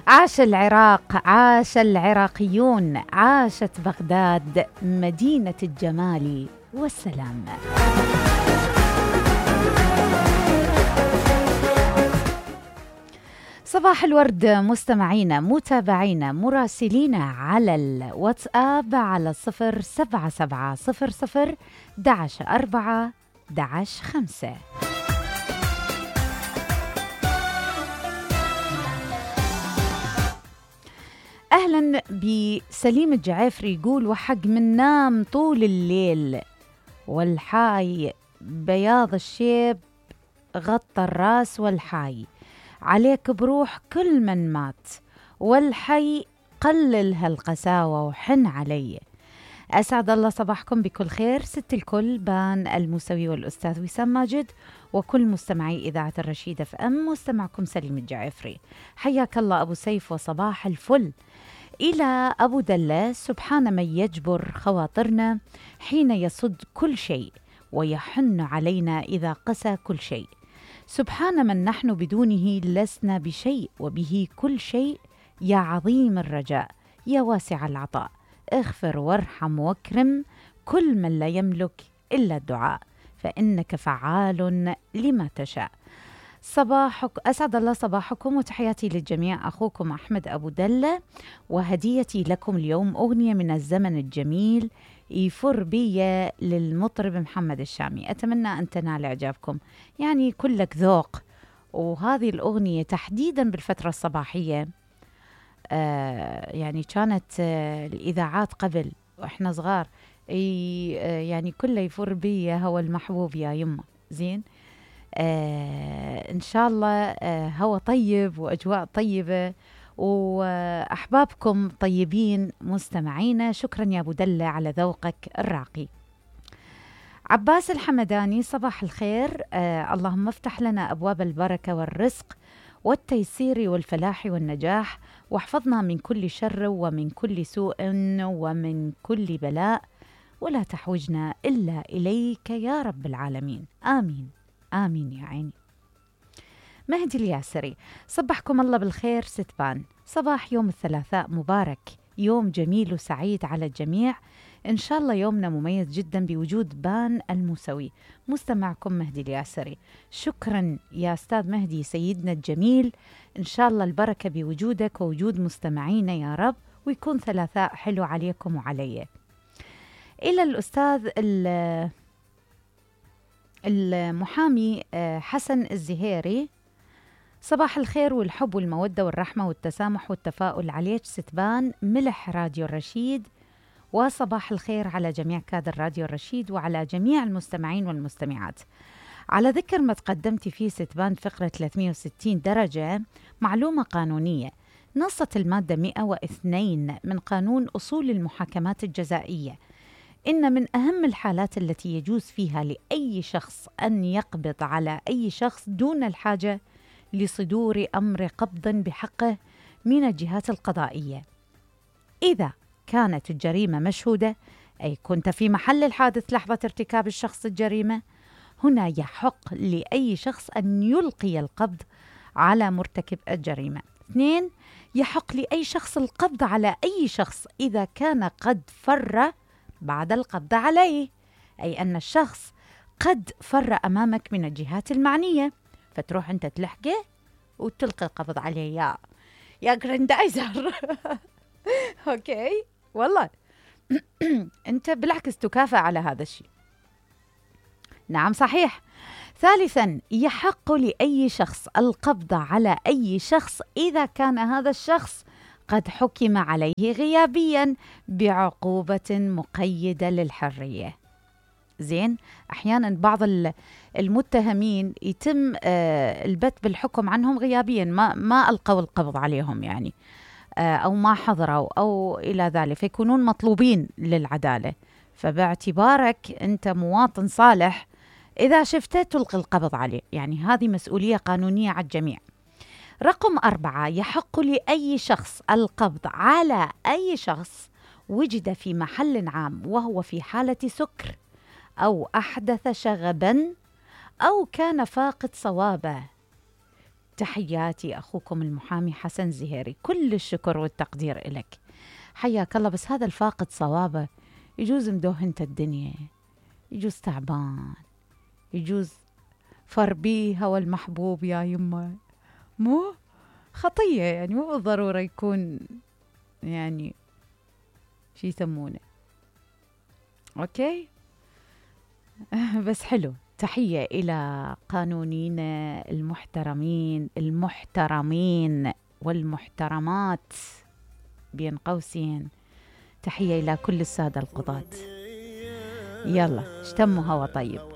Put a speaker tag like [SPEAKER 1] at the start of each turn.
[SPEAKER 1] عاش العراق، عاش العراقيون، عاشت بغداد مدينة الجمال والسلام. صباح الورد مستمعينا متابعينا مراسلينا على الواتساب على 07700 11 11 5. أهلا بسليم الجعافري، يقول وحق من نام طول الليل والحاي بياض الشيب غطى الراس والحاي عليك بروح كل من مات والحي قلل هالقساوة وحن علي. أسعد الله صباحكم بكل خير. ست الكل بان الموسوي والأستاذ وسام ماجد وكل مستمعي إذاعة الرشيد اف ام. مستمعكم سليم الجعافري، حياك الله أبو سيف وصباح الفل. إلى أبو دلة، سبحان من يجبر خواطرنا حين يصد كل شيء ويحن علينا إذا قسى كل شيء. سبحان من نحن بدونه لسنا بشيء وبه كل شيء. يا عظيم الرجاء يا واسع العطاء، اغفر وارحم واكرم كل من لا يملك إلا الدعاء فإنك فعال لما تشاء. أسعد الله صباحكم وتحياتي للجميع. أخوكم أحمد أبو دلة، وهديتي لكم اليوم أغنية من الزمن الجميل يفر بي للمطرب محمد الشامي. أتمنى أن تنال إعجابكم، يعني كلك ذوق. وهذه الأغنية تحديدا بالفترة الصباحية يعني كانت الإذاعات قبل وإحنا صغار يعني كله يفر بي هو المحبوب يا يمه. زين، إن شاء الله هو طيب وأجواء طيبة وأحبابكم طيبين مستمعينا. شكرا يا أبو دلة على ذوقك الراقي. عباس الحمداني، صباح الخير. اللهم افتح لنا أبواب البركة والرزق والتيسير والفلاح والنجاح، واحفظنا من كل شر ومن كل سوء ومن كل بلاء، ولا تحوجنا إلا إليك يا رب العالمين. آمين آمين يا عيني. مهدي الياسري، صبحكم الله بالخير ستبان. صباح يوم الثلاثاء مبارك، يوم جميل وسعيد على الجميع. إن شاء الله يومنا مميز جدا بوجود بان الموسوي. مستمعكم مهدي الياسري. شكرا يا أستاذ مهدي سيدنا الجميل، إن شاء الله البركة بوجودك ووجود مستمعينا يا رب، ويكون ثلاثاء حلو عليكم وعلي. إلى الأستاذ المحامي حسن الزهيري، صباح الخير والحب والمودة والرحمة والتسامح والتفاؤل عليك ستبان ملح راديو الرشيد، وصباح الخير على جميع كادر راديو الرشيد وعلى جميع المستمعين والمستمعات. على ذكر ما تقدمت فيه ستبان فقرة 360 درجة، معلومة قانونية. نصت المادة 102 من قانون أصول المحاكمات الجزائية إن من أهم الحالات التي يجوز فيها لأي شخص أن يقبض على أي شخص دون الحاجة لصدور أمر قبض بحقه من الجهات القضائية، إذا كانت الجريمة مشهودة، أي كنت في محل الحادث لحظة ارتكاب الشخص الجريمة. هنا يحق لأي شخص أن يلقي القبض على مرتكب الجريمة. 2، يحق لأي شخص القبض على أي شخص إذا كان قد فر بعد القبض عليه، أي أن الشخص قد فر أمامك من الجهات المعنية، فتروح أنت تلحقه وتلقي القبض عليه يا جراندايزر. أوكي والله أنت بالعكس تكافئ على هذا الشيء. نعم صحيح. 3، يحق لأي شخص القبض على أي شخص إذا كان هذا الشخص قد حكم عليه غيابيا بعقوبة مقيدة للحرية. زين، أحيانا بعض المتهمين يتم البت بالحكم عنهم غيابيا، ما ألقوا القبض عليهم يعني، أو ما حضروا أو إلى ذلك، فيكونون مطلوبين للعدالة. فباعتبارك أنت مواطن صالح، إذا شفته تلقي القبض عليه، يعني هذه مسؤولية قانونية على الجميع. رقم 4، يحق لأي شخص القبض على أي شخص وجد في محل عام وهو في حالة سكر أو أحدث شغبا أو كان فاقد صوابه تحياتي أخوكم المحامي حسن زهيري. كل الشكر والتقدير إلك، حياك الله. بس هذا الفاقد صوابه يجوز مدوهنت الدنيا، يجوز تعبان، يجوز فربيه هو المحبوب يا يمه، مو خطية يعني، مو بالضرورة يكون يعني شي يسمونه أوكي. بس حلو. تحية إلى قانونيين المحترمين المحترمين والمحترمات بين قوسين. تحية إلى كل السادة القضاة. يلا اشتموا هوا طيب.